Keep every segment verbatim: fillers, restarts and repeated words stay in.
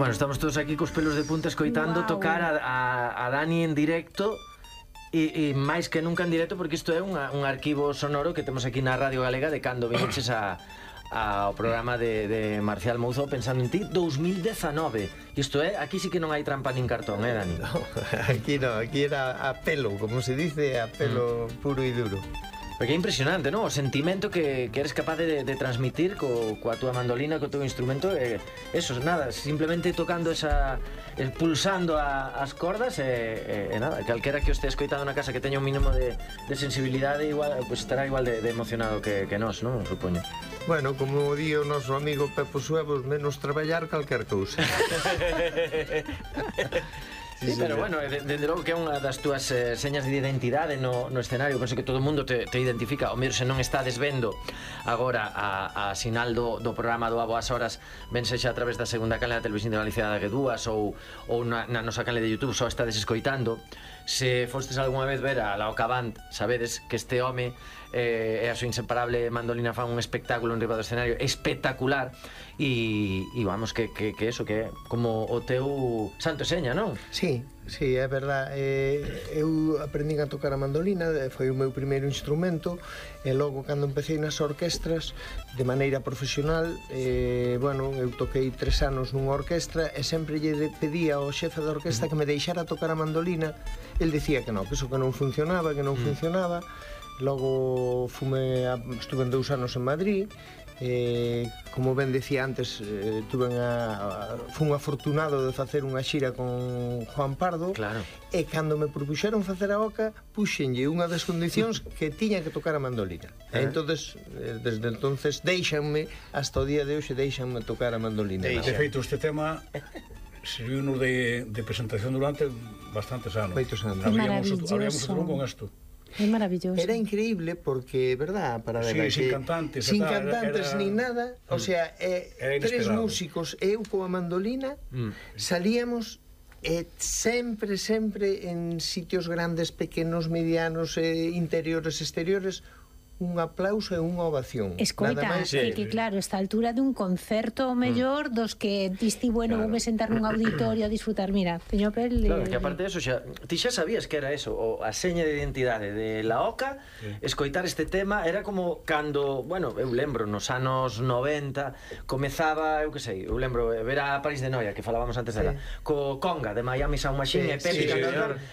Bueno, estamos todos aquí cos pelos de punta escoitando wow. tocar a, a, a Dani en directo e, e máis que nunca en directo, porque isto é unha, un arquivo sonoro que temos aquí na Radio Galega de cando vinches a, a, ao programa de, de Marcial Mouzo Pensando en Ti dos mil dezanove. Isto é, aquí sí que non hai trampa nin cartón, eh, Dani? No, aquí non, aquí era a pelo, como se dice, a pelo mm. puro e duro. Porque é impresionante, non? O sentimento que, que eres capaz de, de transmitir co, coa túa mandolina, co teu instrumento, eh, eso, nada, simplemente tocando esa, el, pulsando a, as cordas e, e, e nada, calquera que o este escoitado na casa que teña un mínimo de, de sensibilidade igual, pues estará igual de, de emocionado que, que nós, non? Supoño. Bueno, como di o noso amigo Pepo Suevos, menos traballar calquer cousa. Sí, pero bueno, dende logo que é unha das túas eh, señas de identidade no, no escenario. Penso que todo o mundo te, te identifica. O mellor se non estades vendo agora a, a sinal do, do programa do A Boas Horas, ben sexa a través da segunda canle da televisión de Galicia da G dúas ou, ou na, na nosa canle de YouTube, só estades escoitando. Se fostes algunha vez ver a Laoca Band, sabedes que este home eh, é a súa inseparable mandolina, fan un espectáculo en riba do escenario espectacular e, e vamos, que, que, que eso, que é como o teu santo seña, non? Sí, sí, é verdad. eh, Eu aprendín a tocar a mandolina, foi o meu primeiro instrumento, e logo cando empecé nas orquestras de maneira profesional, eh, bueno, eu toquei tres anos nunha orquestra e sempre lle pedía ao xefe da orquestra que me deixara tocar a mandolina. El dicía que non, que eso que non funcionaba, que non funcionaba. Logo fume a, estuve en dous anos en Madrid. Eh, como ben decía antes, eh, tuve a, a, fui un afortunado de facer unha xira con Juan Pardo. Claro. E cando me propuxeron facer a oca, puxenlle unha das condicións que tiña que tocar a mandolina. E entonces, eh, desde entonces deixanme, hasta o día de hoxe deixanme tocar a mandolina. De feito, este tema serviu-nos de, de presentación durante bastantes anos. Baitos anos. Abríamos o telón con isto. É maravilloso. Era increíble porque, verdad, para sí, ver sin que, cantantes, sin era, cantantes era, ni nada, o sea, eh, tres músicos, eu coa mandolina, mm. salíamos e sempre, sempre en sitios grandes, pequenos, medianos, eh, interiores, exteriores, un aplauso e unha ovación. Escoita, que, que claro, esta altura dun concerto mellor mm. dos que diste, bueno, claro, voume sentar nun auditorio a disfrutar, mira, teño pel... Claro, que aparte de eso, xa, ti xa sabías que era eso, o a seña de identidade de la oca, sí. Escoitar este tema era como cando, bueno, eu lembro, nos anos noventa, comezaba, eu que sei, eu lembro, ver a París de Noia, que falábamos antes dela, sí. Co conga de Miami Sound Machine, sí, e Pepe, sí,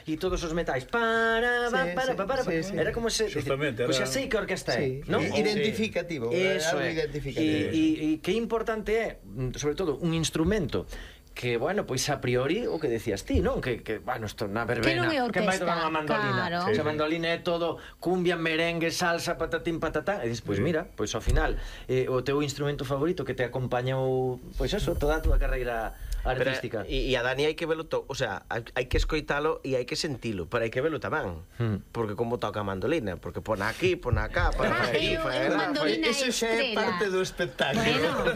sí, e todos os metais, para, para, sí, para, para, para, sí, sí. Era como se... Justamente, era... Pois xa sei que orquesta sí, ¿no? Identificativo, eso algo é. Identificativo. E que importante é, sobre todo, un instrumento que, bueno, pois a priori o que decías ti, non? Que, que bueno, isto na verbena, que vai tocar unha mandolina, claro. Sí, esa mandolina é todo cumbia, merengue, salsa, patatín, patatá, e dices, pois mira, pois ao final eh, o teu instrumento favorito que te acompañou, pois eso, toda a túa carreira artística. Pero, e a Dani hai que velo todo, o sea, hai que escoitalo e hai que sentilo, pero hai que velo tamén, hmm. porque como toca a mandolina, porque pon aquí, pon acá, pon ah, aquí, eso xa é parte do espectáculo.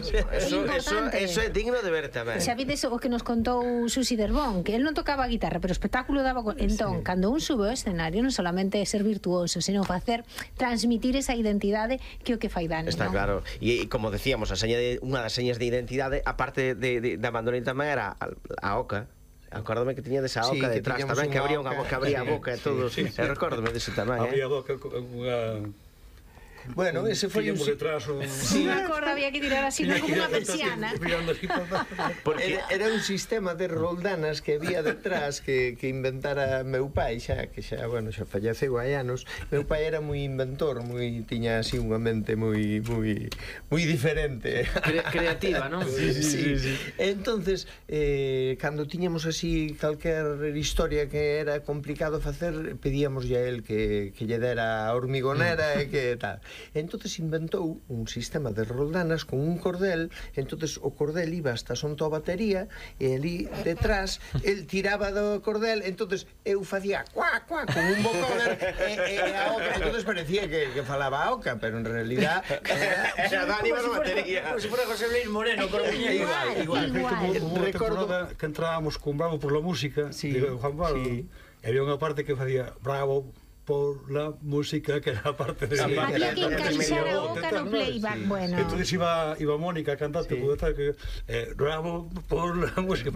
Bueno, eso, eso, eso é digno de ver tamén. Xa vides o que nos contou Susi Derbón, que él non tocaba a guitarra, pero o espectáculo daba con... Entón, sí. Cando un sube ao escenario, non solamente é ser virtuoso, senón facer, transmitir esa identidade que o que fai Dani. Está, ¿no? Claro, e como decíamos, a seña de, unha das señas de identidade, aparte de, de, da mandolina tamén era a, a oca. Acórdame que tiña desa oca sí, detrás tamén, que abría unha boca, que abría a boca e todo. Sí, sí, sí. Recórdame dese tamén, eh? Abría a boca unha... Bueno, ese foi un... detrás, un... Sí. Unha corda había que tirar así, non como unha persiana. Porque era, era un sistema de roldanas que había detrás que, que inventara meu pai, xa, que xa, bueno, xa falleceu hai anos. Meu pai era moi inventor, moi tiña así unha mente moi moi moi diferente. Cre creativa, non? Sí, sí, sí, sí. Entonces, eh, cando tiñamos así calquer historia que era complicado facer, pedíamos a él que, que lle dera a hormigonera e que tal. Entonces inventou un sistema de roldanas con un cordel, entonces o cordel iba hasta sonto a batería e ali detrás el tiraba do cordel, entonces eu facía cuá, cuá, con un vocoder e, e a oca, entonces parecía que, que falaba a oca, pero en realidad era Dani a batería. Como se fuera José Luis Moreno, por igual, igual. Recordo que entrábamos con Bravo por la música, sí, de Juan Pablo, sí. E había unha parte que facía Bravo por la música, que era parte de... Había que encaixar a boca no playback, bueno. Entonces iba, iba Mónica cantante, puede estar que... Eh, bravo por la música.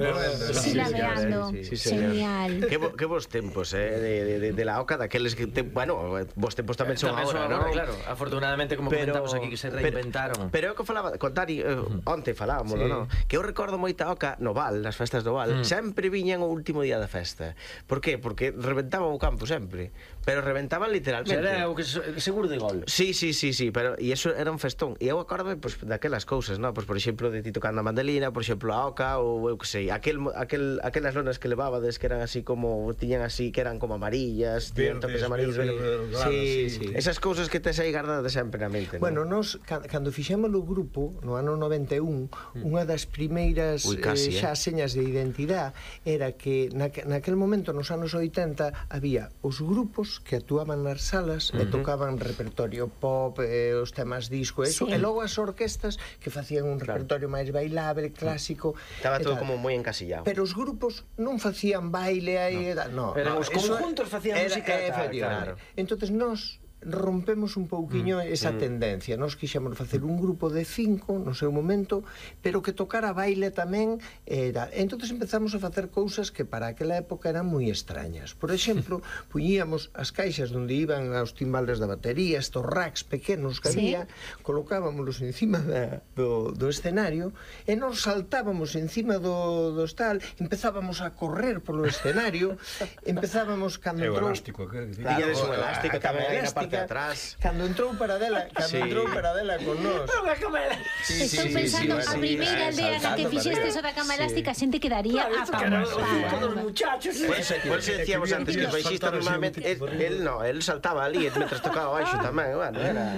Silabeando. Genial. Que, bo, que vos tempos, eh, de, de, de la oca, daqueles que... Te, bueno, vos tempos tamén son agora, non? Claro, afortunadamente, como pero, comentamos aquí, que se reinventaron. Pero, pero eu que falaba, con Tari, eh, onte falábamoslo, sí. non? Que eu recordo moita oca no Val, nas festas do Val, mm. sempre viñan o último día da festa. Por qué? Porque reventaban o campo sempre. Pero reventaban literalmente. Era o que seguro de gol. Sí, sí, sí, sí, pero e eso era un festón. E eu acordo pues, daquelas cousas, non? Pues, por exemplo, de ti tocando a mandolina, por exemplo, a oca, ou eu que sei, aquel, aquel, aquelas lonas que levabades que eran así como, tiñan así, que eran como amarillas, tiñan toques amarillos. Verdes, sí, sí, sí. Esas cousas que tes aí guardadas sempre na mente, non? Bueno, nos, cando fixemos o grupo, no ano noventa e un, mm. unha das primeiras Uy, casi, eh, xa eh? señas de identidade era que na, naquel momento, nos anos oitenta, había os grupos que actuaban nas salas uh -huh. e tocaban repertorio pop, eh, os temas disco, eso, sí. E logo as orquestas que facían un claro. repertorio máis bailable, clásico. Estaba todo como moi encasillado. Pero os grupos non facían baile aí, no. no, pero no, os conjuntos facían era, música, eh, efectivamente. Claro. Entonces nós rompemos un pouquiño mm, esa mm. tendencia. Nós quixemos facer un grupo de cinco no seu momento, pero que tocara baile tamén era. Entonces empezamos a facer cousas que para aquela época eran moi extrañas. Por exemplo, puñíamos as caixas onde iban os timbales da batería, estos racks pequenos que había, ¿sí? Colocábamos encima da, do, do escenario e nos saltábamos encima do, do tal, empezábamos a correr polo escenario, empezábamos cando entrou... É o elástico, que claro, o elástico tamén aí na parte de atrás. Cando entrou Paradela, cando sí. entrou Paradela con nós. Sí, Estou sí, pensando, sí, sí, a primeira sí, aldea na que fixeste eso da cama elástica, a xente quedaría claro, apamontada. Todos os muchachos. Por eso decíamos antes que o baixista normalmente, él no, él saltaba ali mentras tocaba baixo tamén, bueno, era...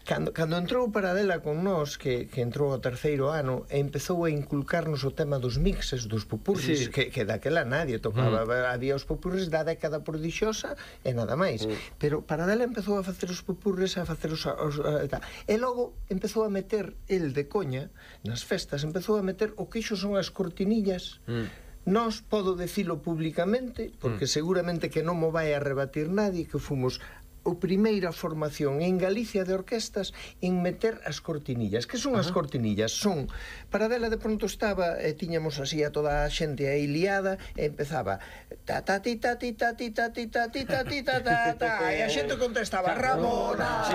Cando, cando entrou Paradela con nós, que, que entrou ao terceiro ano, e empezou a inculcarnos o tema dos mixes, dos pupurris, sí. que, que daquela nadie tocaba. Mm. Había os pupurris da década prodixiosa e nada máis. Mm. Pero Paradela empezou a facer os pupurris, a facer os... os a, a, e logo empezou a meter, el de coña, nas festas, empezou a meter o que iso son as cortinillas. Mm. Nós podo decilo públicamente, porque mm. seguramente que non mo vai a rebatir nadie, que fomos o primeira formación en Galicia de orquestas en meter as cortinillas. Que son as cortinillas? Son, Paradela de pronto estaba, e tiñamos así a toda a xente aí liada, e empezaba ta ta ti ta ti ta ti ta ti ta ti ta ti ta ta ta, e a xente contestaba Ramona.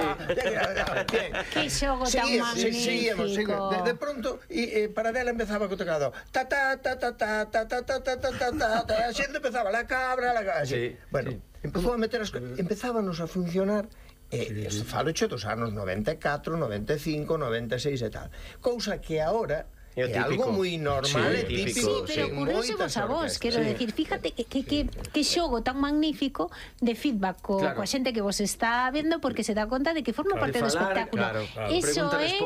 Que xogo tan magnífico. De, de pronto, e, e Paradela empezaba co tocado ta ta ta ta ta ta ta ta ta ta ta ta, e a xente empezaba la cabra, la cabra. Bueno, empezou a meter as cousas, empezábanos a funcionar, e sí, falo che dos anos noventa e catro, noventa e cinco, noventa e seis e tal. Cousa que agora é algo moi normal, é sí, típico. Sí, pero curioso a vos, quero sí. decir, fíjate que, que, que, que xogo tan magnífico de feedback co, claro. coa xente que vos está vendo, porque se dá conta de que forma claro, parte do espectáculo. Claro, claro. Eso é,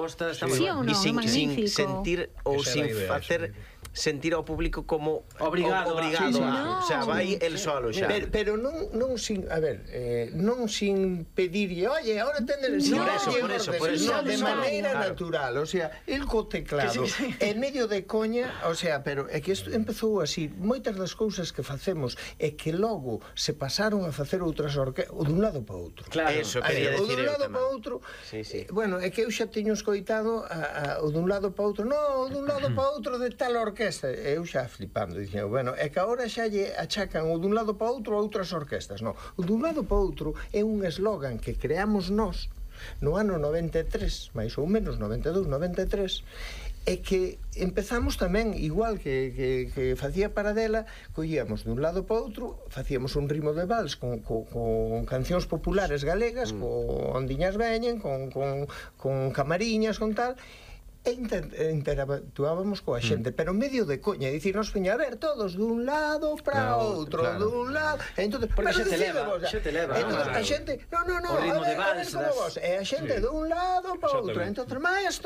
sí ou non, sin, magnífico. Sin sentir ou sin facer... sentir ao público como obrigado, obrigado sí, sí, a, no. o sea, vai el solo xa. Pero, pero non, non sin, a ver, eh, non sin pedirlle, oye, ahora tende, no, por eso, por eso, por eso, no, de maneira claro. natural, o sea, el co teclado, sí, sí. en medio de coña, o sea, pero é que isto empezou así, moitas das cousas que facemos é que logo se pasaron a facer outras orquestas, o dun lado para outro. Claro, eso quería decir. O dun lado para outro. Sí, sí. Eh, bueno, é que eu xa teño escoitado a, a, o dun lado para outro, no, o dun lado para outro de tal orquesta. Eu xa flipando, dixen, bueno, é que agora xa lle achacan o dun lado para outro a outras orquestas, non. O dun lado para outro é un eslogan que creamos nós no ano noventa e tres, máis ou menos, noventa e dous, noventa e tres, e que empezamos tamén, igual que, que, que facía Paradela, collíamos dun lado para outro, facíamos un ritmo de vals con, con, con cancións populares galegas, mm. con ondiñas veñen, con, con, con camariñas, con tal, e interactuábamos coa xente, mm. pero medio de coña, dicir, nos veña a ver todos dun lado para no, outro, claro. dun lado, e entonces, porque xa te leva, xa te leva, entonces, a xente, no, no, no, a ver, a ver como vos, e a xente sí. dun lado para outro, entonces, maestro